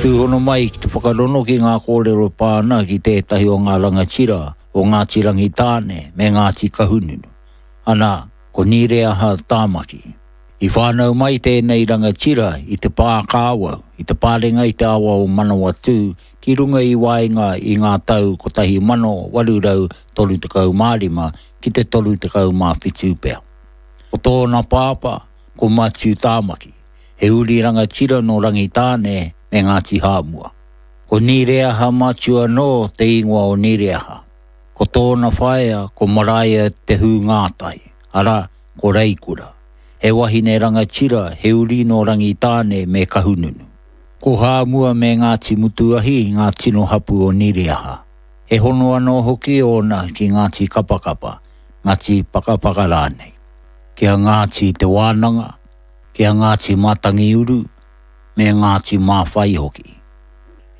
Tūhono mai ki te whakarono ki ngā kōrero e pā ana ki tētahi o ngā rangatira o Ngāti Rangitāne me Ngāti Kahungunu, ana, ko Nireaha Tāmaki. I whānau mai tēnei rangatira i Te Pākāwau, i te parenga i te awa o Manawatū ki runga i waenga i ngā tau 1835 ki te 37 pea. Ko tōna pāpā, ko Matiu Tāmaki, he uri rangatira nō Rangitāne me Ngāti Hāmua. Ko Nireaha Matiu anō te ingoa o Nireaha. Ko tōna whaea ko Maraea Te Hūngātai, arā, ko Reikura. He wahine rangatira, he uri nō Rangitāne me Kahungunu. Ko Hāmua me Ngāti Mutuahi ngā tino hapū o Nireaha. He hono anō hoki ōna ki Ngāti Kapakapa, Ngāti Pakapaka rānei, ki a Ngāti Te Wānanga, ki a Ngāti Matangiuru, me Ngāti Māwhai hoki.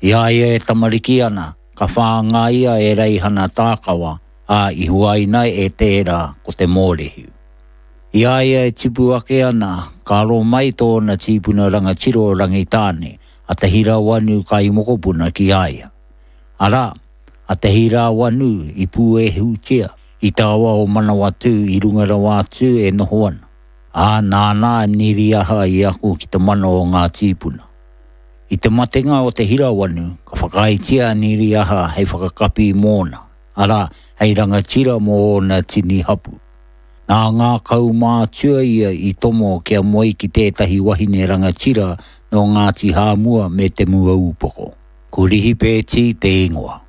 I a ia e tamariki ana, ka whāngaia e Reihana Tākawa, ā, i huaina e tērā ko Te Mōrehu. I a ia e tipu ake ana, ka aro mai tōna tīpuna rangatira o Rangitāne, a Te Hirawanu Kaimokopuna ki a ia. Arā, a Te Hirawanu i pūehutia i te awa o Manawatū i runga rawa atu e noho ana, ā, nāna a Niriaha i ako ki te mana o ngā tīpuna. I te matenga o Te Hirawanu, ka whakaaetia a Niriaha hei whakakapi mōna, arā, hei rangatira mō ōna tini hapū. Nā ngā kaumātua ia i tomo kia moe ki tētahi wahine rangatira nō Ngāti Hāmua me Te Muaūpoko. Ko Rihipēti te ingoa.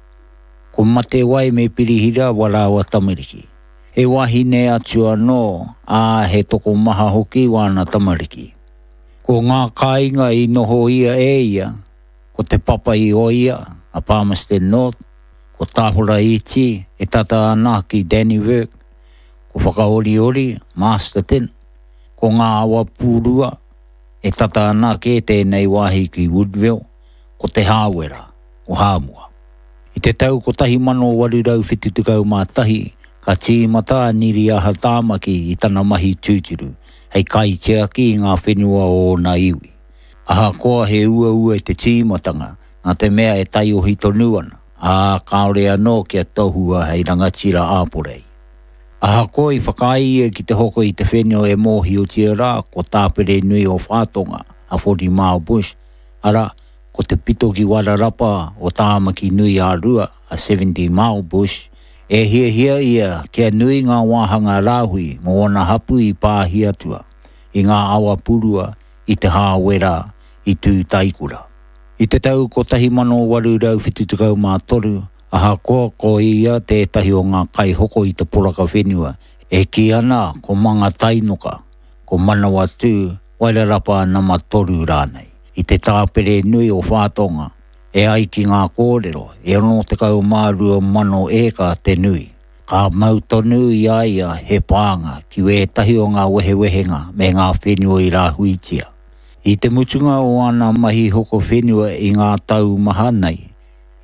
Ko Matewai me Pirihira wā rāua tamariki. He wahine atu anō, ā, he tokomaha hoki wāna tamariki. Ko ngā kāinga i nohoia e ia, ko Te Papa i Oia, a Palmerston North, ko Tāhora Iti e tata ana ki Dannevirke, ko Whakaoriori, Masterton, ko Ngā Awa Pūrua, e tata ana kē tēnei wāhi ki Woodville, ko Te Hāwera, o Hāmua. I te tau 1871, ka tīmata a Niriaha Tāmaki i tana mahi tūturu hei kaitiaki i ngā whenua o ōna iwi. Ahakoa he uaua te tīmatanga, nā te mea e taiohi tonu ana, ā, kāore anō kia tohua hei rangatira āporei. Ahakoa i whakaae ia ki te hoko i te whenua e mōhiotia rā ko Tāperenui o Whātonga, a Forty Mile Bush, arā, ko te pito ki Wairarapa o Tāmaki nui ā-Rua, a Seventy Mile Bush, e hiahia ia kia nui ngā wāhanga rāhui mō ōna hapū i Pāhiatua, i ngā awa purua, i Te Hāwera, i Tūtaekura. I te tau 1873, ahakoa ko ia tētahi o ngā kaihoko i te poraka whenua, e kī ana ko Mangatainoka, ko Manawatū, Wairarapa nama toru rānei, i te tāpere nui o Whātonga, e ai ki ngā kōrero, e 62,000 ēka te nui. Ka mau tonu i a ia he pānga ki wētahi o ngā wehewehenga me ngā whenua i rāhuitia. I te mutunga o āna mahi hoko whenua i ngā tau maha nei,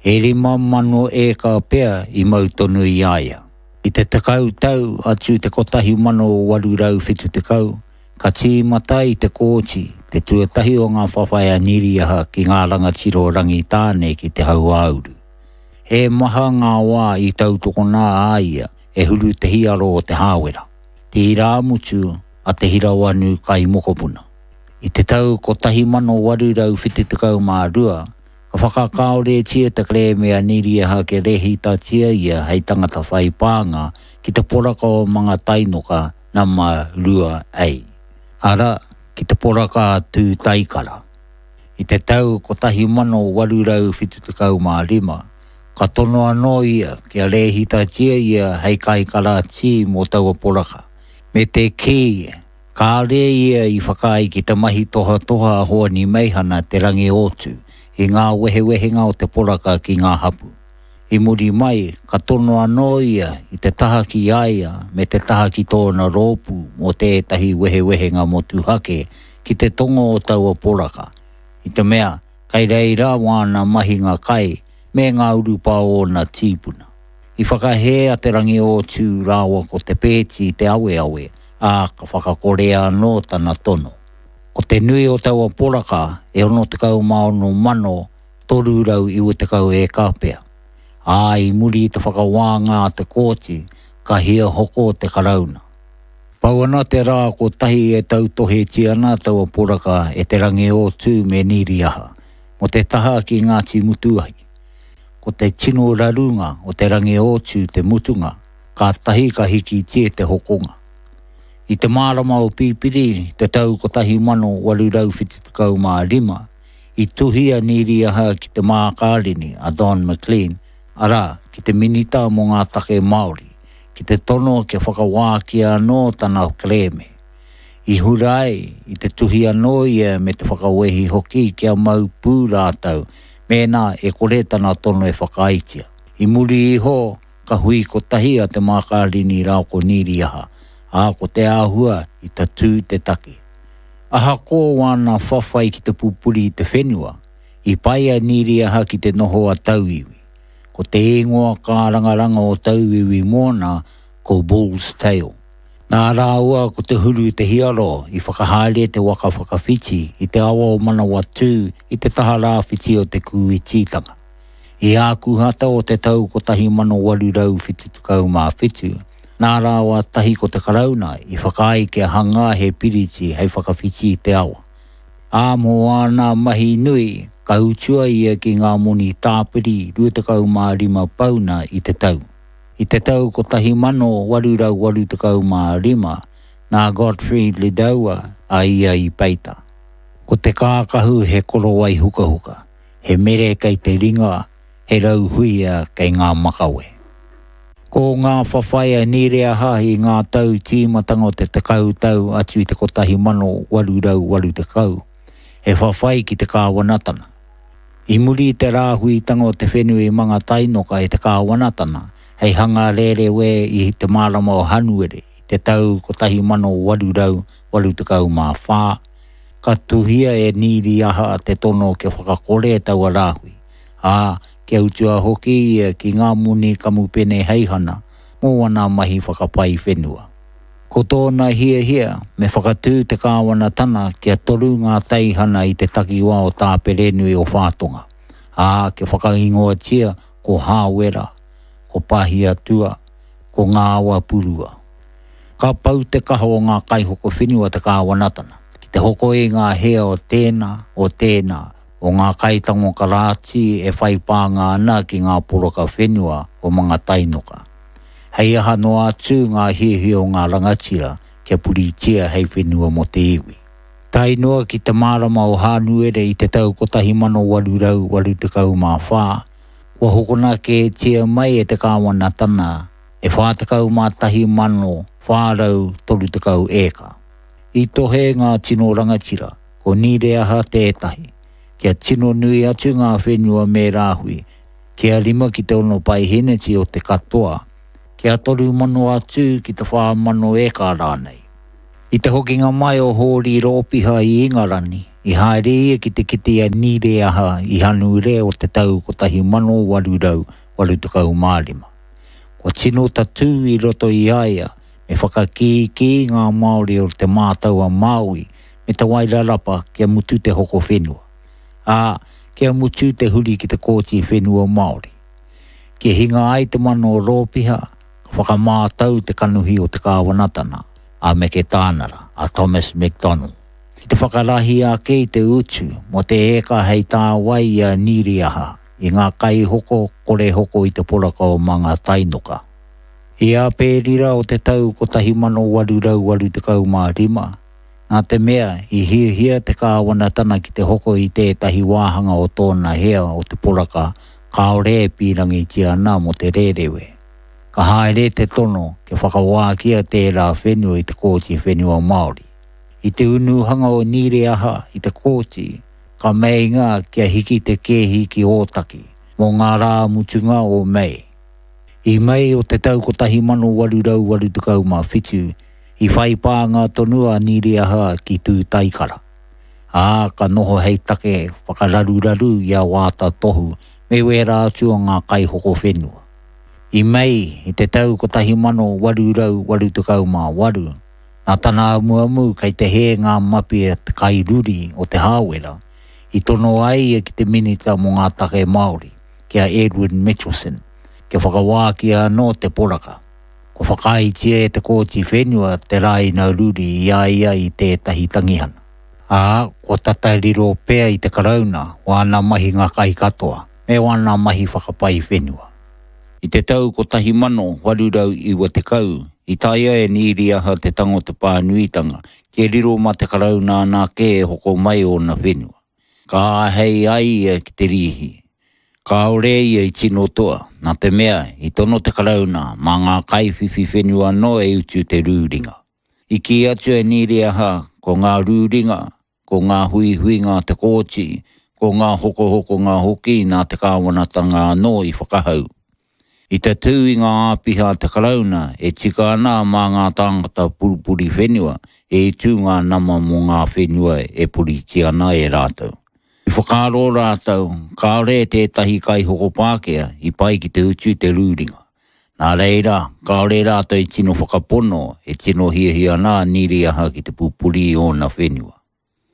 e 5,000 ēka pea i mau tonu i a ia. I te tekau tau atu i te 1870, ka tīmata i te Kooti te tuatahi o ngā whawhai a Niriaha ki ngā rangatira o Rangitāne ki te Hauāuru. He maha ngā wā i tautokona a ia e Huru Te Hiaro o Te Hāwera, te irāmutu a Te Hirawanu Kaimokopuna. I te tau 1872, ka whakakāoretia te kerēme a Niriaha kia rēhitatia ia hei tangata whai pānga ki te poraka o Mangatainoka nama 2A, arā, ki te poraka a Tūtaikara. I te tau 1875, ka tono anō ia kia rēhitatia ia hei kaikarātī mō taua poraka, me te kī kāore ia i whakaae ki te mahi tohatoha a Hoani Meihana Te Rangiōtū i ngā wehewehenga o te poraka ki ngā hapū. I muri mai, ka tono anō ia i te taha ki a ia me te taha ki tōna rōpū mō tētahi wehewehenga motuhake ki te tonga o taua poraka, i te mea kei reira wāna mahinga kai me ngā urupā o ōna tīpuna. I whakahē a Te Rangiōtū rāua ko Te Peeti i te aweawe, ā, ka whakakorea anō tana tono. Ko te nui o taua poraka e 66,000. 390 ēka pea. Ā, i muri i te whakawānga a te kōti, ka hiahoko te Karauna. Pau ana te rā kotahi e tautohetia ana taua poraka e Te Rangiōtū me Nīriaha, mō te taha ki Ngāti Mutuahi. Ko te tino rarunga o Te Rangiōtū te mutunga, kātahi ka hikitia te hokonga. I te marama o Pipiri, te tau 1875, i tuhi a Nīriaha ki te mākārini a Don McLean, arā, ki te Minita mō ngā Take Māori, ki te tono kia whakawākia anō tana kerēme. I hura ai, i te tuhi anō ia me te whakawehi hoki kia mau pū rātou mēnā e kore tana tono e whakaaetia. I muri iho, ka hui kotahi a Te Mākārini rāo ko Nīriaha, ā, ko te āhua i tatū te take. Ahakoa wāna whawhai ki te pupuri i te whenua, i pai a Nīriaha ki te noho a tauiwi. Ko te ingoa kārangaranga o tauiwi mōna ko Bull's Tail. Nā rāua ko Te Huru Te Hiaro i whakahaere te waka whakawhiti i te awa o Manawatū i te taha rāwhiti o te Kūititanga. I Ākuhata o te tau 1877, nā rāua tahi ko te Karauna i whakaae kia hangā he piriti hei whakawhiti i te awa. Ā, mō āna mahi nui, ka utua ia ki ngā moni tāpiri 25 pauna i te tau. I te tau 1885, nā Gottfried Lindauer a ia i peita. Ko te kākahu he korowai hukahuka, he mere kei te ringa, he rau huia kei ngā makawe. Ko ngā whawhai a Nireaha i ngā tau tīmatanga o te tekau tau atu i te 1880, he whawhai ki te kāwanatana. I muri i te rāhuitanga o te whenua i Mangatainoka e te kāwanatana hei hanga rerewē i te marama o Hanuere i te tau 1884, ka tuhia e Nīriaha te tono kia whakakore taua rāhui, ā, kia utua hoki ia ki ngā moni kamupeneheihana mō ana mahi whakapai whenua. Ko tōna hiahia me whakatū te kāwanatana kia toru ngā teihana i te takiwā o Tāperenui o Whātonga, ā, kia whakaingoatia ko Hāwera, ko Pahiatua, ko Ngāwapurua. Ka pau te kaha o ngā kaihoko whenua te kāwanatana ki te hoko i ngā hea o tēnā, o tēnā, o ngā kaitango karāti e whai pānga ana ki ngā poraka whenua o Mangatainoka. Hei aha noa atu ngā hiahia o ngā rangatira kia puritia hei whenua mō te iwi. Tae noa ki te marama o Hānuere i te tau 1884, kua hokona kētia mai e te kāwanatana e 41,430 ēka. I tohe ngā tino rangatira, ko Nīreaha tētahi, kia tino nui atu ngā whenua me rāhui, kia rima ki te ono paeheneti o te katoa, kia 3,000 atu ki te 4,000 eka rānei. I te hokinga mai o Hōri Rōpiha i Ingarani, i haere ia ki te kite i a Nīreaha i Hanure o te tau 1885. Kua tino tatū i roto i a ia me whakakīkī ngā Māori o Te Mātau-a-Māui me Te Wairarapa kia mutu te hoko whenua, ā, kia mutu te huri ki te Kōti Whenua Māori. Kia hinga ai te mana o Rōpiha, ka whakamātau te kanohi o te kāwanatana, a Meketānara, a Thomas McDonnell, ki te whakarahi ake i te utu mō te ēka hei tāwai i a Nīriaha i ngā kaihoko kore hoko i te poraka o Mangatainoka. I Āperira o te tau 1885, nā te mea i hiahia te kāwanatana ki te hoko i tētahi wāhanga o tōna hea o te poraka kāore e pīrangitia ana mō te rērewe. Ka haere te tono kia whakawākia tērā whenua i te Kōti Whenua Māori. I te unuhanga o Nīreaha i te kōti, ka meinga kia hiki te kēhi ki Ōtaki mō ngā rā mutunga o Mei. I Mei o te tau 1887, i whai pānga tonu a Nīriaha ki Tūtaikara, ā, ka noho hei take whakararuraru i a Waata Tohu me wērā atu o ngā kaihoko whenua. I Mei i te tau 1888, nā tana amuamu kei te hē ngā mapi a te kairuri o Te Hāwera, I tono ai ia ki te Minita mō ngā Take Māori, ki a Edwin Mitchelson, kia whakawākia anō te poraka. Kua whakaaetia e te Kōti Whenua te rāina ruri i a ia i tētahi tangihana. Ā, kua tata riro pea i te Karauna wāna mahinga kai katoa, me wāna mahi whakapai whenua. I te tau 1890, i taea e Nīriaha te tango te pānuitanga kia riro mā te Karauna anake e hoko mai ōna whenua. Ka āhei ai ia ki te rīhi. Kāore ia i tino toa, nā te mea i tono te Karauna mā ngā kaiwhiwhi whenua anō e utu te rūringa. I kī atu e Nīriaha ko ngā rūringa, ko ngā huihuinga a te kōti, ko ngā hokohokonga hoki nā te kāwanatanga anō i whakahau. I tatū i ngā āpiha a te Karauna e tika ana mā ngā tāngata purupuri whenua e utu ngā nama mō ngā whenua e puritia ana e rātou. I whakaaro rātou kāore tētahi kaihoko Pākehā i pai ki te utu i te rūringa. Nā reira, kāore rātou i tino whakapono e tino hiahia ana a Nīriaha ki te pupuri i ōna whenua.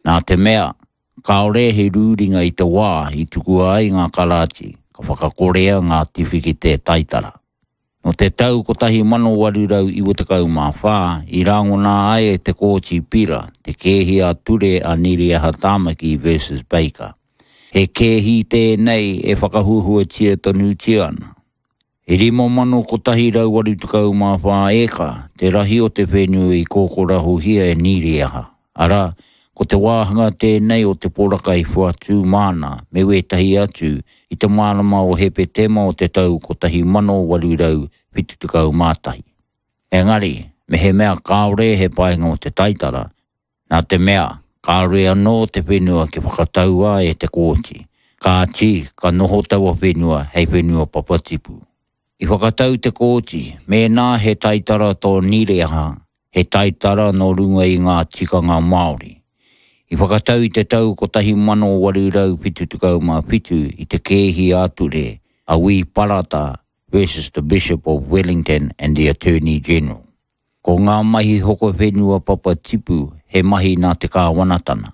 Nā te mea, kāore he rūringa i te wā i tukua ai ngā karāti, ka whakakorea ngā tiwhikete taitara. Nō te tau 1894 i rangona ai e te Kōti Pira te kēhi ā-ture a Nīriaha Tāmaki versus Baker. He kēhi tēnei e whakahuahuatia tonutia ana. E 5,184 ēka te rahi o te whenua i kōkorahohia e Nīriaha, arā, ko te wāhanga tēnei o te poraka i whoatu māna me wētahi atu i te marama o Hepetema o te tau 1871. Engari, mehemea kāore he painga o te taitara, Nā te mea, kāore anō te whenua kia whakataua e te kōti, kāti ka noho taua whenua hei whenua papatipu. I whakatau te kōti, mēnā he taitara tō Nireaha, he taitara nō runga i ngā tikanga Māori. I whakatau i te tau 1877 i te kēhi ā-ture a Wī Parata versus the Bishop of Wellington and the Attorney General. Ko ngā mahi hoko whenua papa tipu he mahi nā te kāwanatana,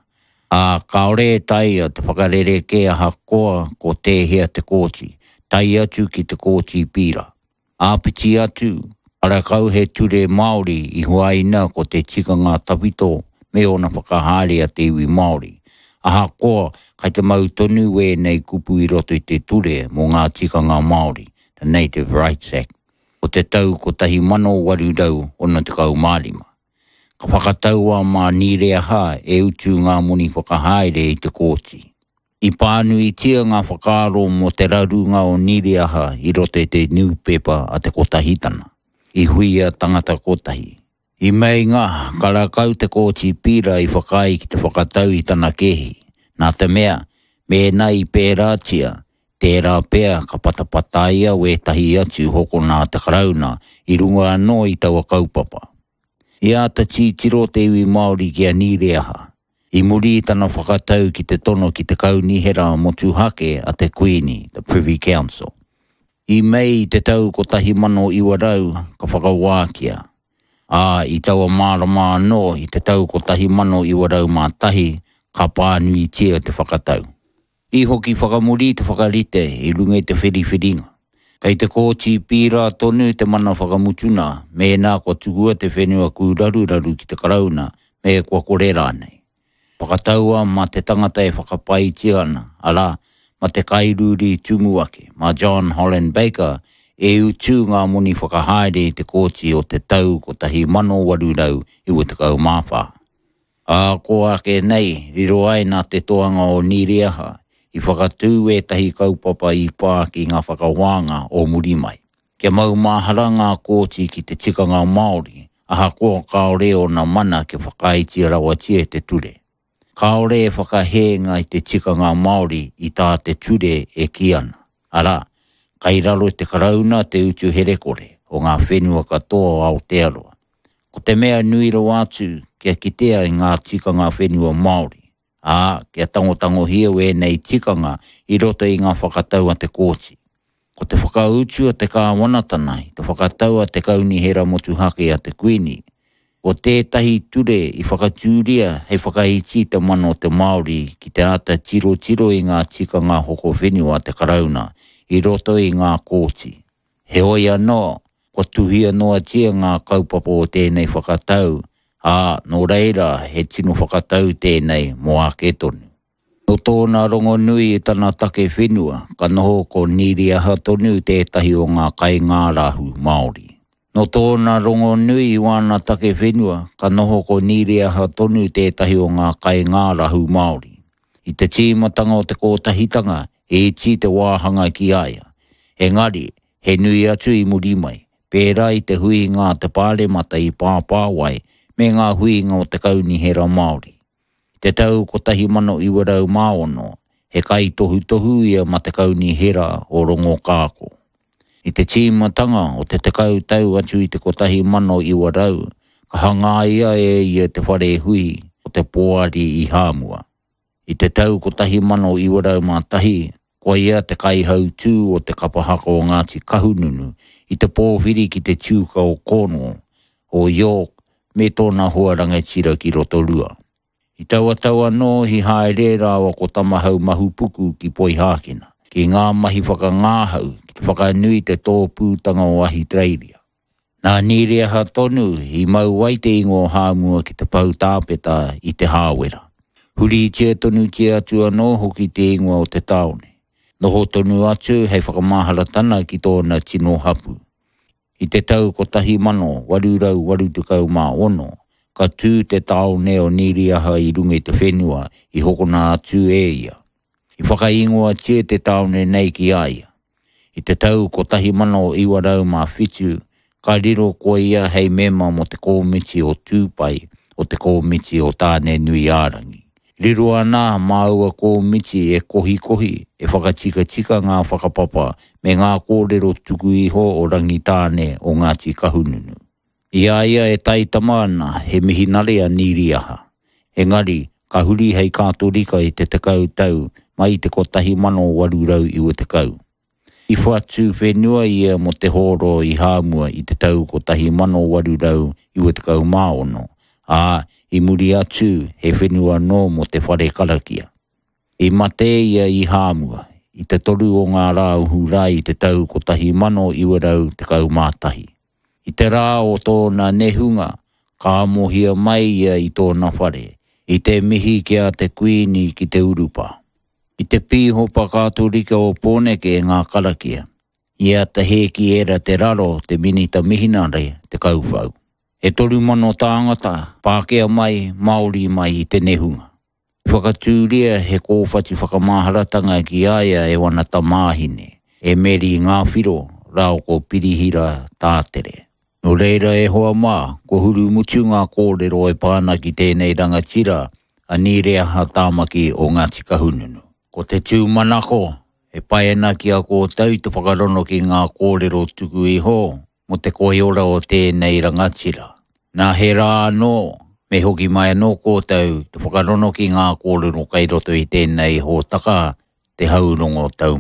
ā, kāore e taea te whakarerekē ahakoa ko tēhea te kōti, tae atu ki te Kōti Pīra. Āpiti atu, karekau he ture Māori i huaina ko te tikanga tawhito me ōna whakahaere a te iwi Māori, ahakoa kai te mau tonu wēnei kupu i roto i te ture mō ngā tikanga Māori, the Native Rights Act. o te tau 1865. Ka whakataua mā Nīreaha e utu ngā moni whakahaere i te kōti. I pānuitia ngā whakaaro mō te rarunga o Nīreaha i roto i te niupepa a Te Kotahitana, i huia tangata kotahi. I meinga karakau te Kōti Pīra i whakaae ki te whakatau i tana kēhi, nā te mea, mēnā i pērātia, tērā pea ka patapataia wētahi atu hokona a te Karauna i runga anō i taua kaupapa. I āta tītiro te iwi Māori ki a Nīreaha, i muri i tana whakatau ki te tono ki te Kaunihera Motuhake a te Kuini, the Privy Council. I Mei i te tau 1900 ka whakawākia, ā, i taua marama anō i te tau 1901 ka pānuitia te whakatau. I hoki whakamuri te whakarite i runga i te whiriwhiringa. Kei te Kōti Pīra tonu te mana whakamutuna mēnā kua tukua te whenua kūraruraru ki te Karauna me kua kore rānei. Whakataua mā te tangata e whakapaetia ana, arā, mā te kairūri tumuaki, mā John Holland Baker, e utu ngā moni whakahaere i te kōti o te tau 1894. Ā kō ake nei, riro ai nā te toanga o Nīriaha i whakatū ētahi kaupapa i pā ki ngā whakawānga o muri mai. Kia maumahara ngā kōti ki te tikanga Māori, ahakoa kāore ōna mana kia whakaaetia rawatia e te ture. Kāore e whakahēnga i te tikanga Māori i tā te ture e kī ana, arā, kai raro i te Karauna te utu herekore o ngā whenua katoa o Aotearoa. Ko te mea nui rawa atu kia kitea i ngā tikanga whenua Māori, ā, kia tangotangohia wēnei tikanga i roto i ngā whakatau a te kōti. Ko te whakautu a te kāwanatana i te whakatau a te Kaunihera Motuhake a te Kuini, Ko tētahi ture i whakatūria hei whakaiti i te mana o te Māori ki te āta tirotiro i ngā tikanga hoko whenua a te Karauna i roto i ngā kōti. Heoi anō, kua tuhia noatia ngā kaupapa o tēnei whakatau, ā, nō reira he tino whakatau tēnei mō ake tonu. Nō tōna rongonui i tana take whenua, ka noho ko Nīriaha tonu tētahi o ngā kaingārahu Māori. Nō tōna rongonui i wāna take whenua, ka noho ko Nīriaha tonu tētahi o ngā kaingārahu Māori. I te tīmatanga o te Kōtahitanga, he iti te wāhanga ki a ia. Engari, he nui atu i muri mai, pērā i te huinga a te Pāremata i Pāpāwai me ngā huinga o te Kaunihera Māori. I te tau 1906, he kaitohutohu ia ma te Kaunihera o Rongokāko. I te tīmatanga o te tekau tau atu i te 1900, ka hangaia e ia te whare hui o te Poari i Hāmua. I te tau 1901, ko ia te kaihautū o te kapa haka o Ngāti Kahungunu i te pōwhiri ki te Tiuka o Cornwall, o York me tōna hoa rangatira ki Rotorua. I taua tau anō i haere rāua ko Tamahau Mahupuku ki Poihākena, ki ngā mahi whakangāhau ki te whakanui i te tōpūtanga o Ahitereiria. Nā Nīriaha tonu i mau ai te ingoa o Hāmua ki te pou tāpeta i Te Hāwera. Huritia tonutia atu anō hoki te ingoa o te tāone. Noho tonu atu hei whakamaharatana ki tōna tino hapū. I te tau 1886, ka tū te tāone o Nīriaha i runga i te whenua i hokona atu e ia. I whakaingoatia te tāone nei ki a ia. I te tau 1907, ka riro ko ia hei mema mō te Kōmiti o Tūpai o te Kōmiti o Tāne-nui-ā-rangi. Riro ana mā aua kōmiti e kohikohi, e whakatikatika ngā whakapapa me ngā kōrero tuku iho o Rangitāne o Ngāti Kahungunu. I a ia e taitama ana, he mihinare a Nīriaha. Engari, ka huri hei Kātorika i te tekau tau mai i te 1890. I whatu whenua ia mō te hōro i Hāmua i te tau 1896, ā, i muri atu he whenua anō mō te whare karakia. I mate ia i Hāmua i te 3 o ngā rā o Hūrae i te tau 1911. I te rā o tōna nehunga, ka amohia mai ia i tōna whare, i te mihi ki a te Kuini ki te urupā. I te Pīhopa Kātorika o Pōneke ngā karakia, i a Te Hēkiera Te Raro te minita mihinare te kauwhau. E 3000 tāngata, Pākehā mai, Māori mai i te nehunga. I whakatūria he kōwhatu whakamaharatanga ki a ia e wana tamāhine, e Meri Ngāwhiro rāua ko Pirihira Tātere. Nō reira e hoa mā, kua hurumutu ngā kōrero e pā ana ki tēnei rangatira a Nīreaha Tāmaki o Ngāti Kahungunu. Ko te tūmanako, e pai ana ki a kōtou te whakarono ki ngā kōrero tuku iho mō te koiora o tēnei rangatira. Nā he rā anō, me hoki mai anō kōtou te whakarono ki ngā kōrero kei roto i tēnei hōtaka, Te Haurongo Taumata.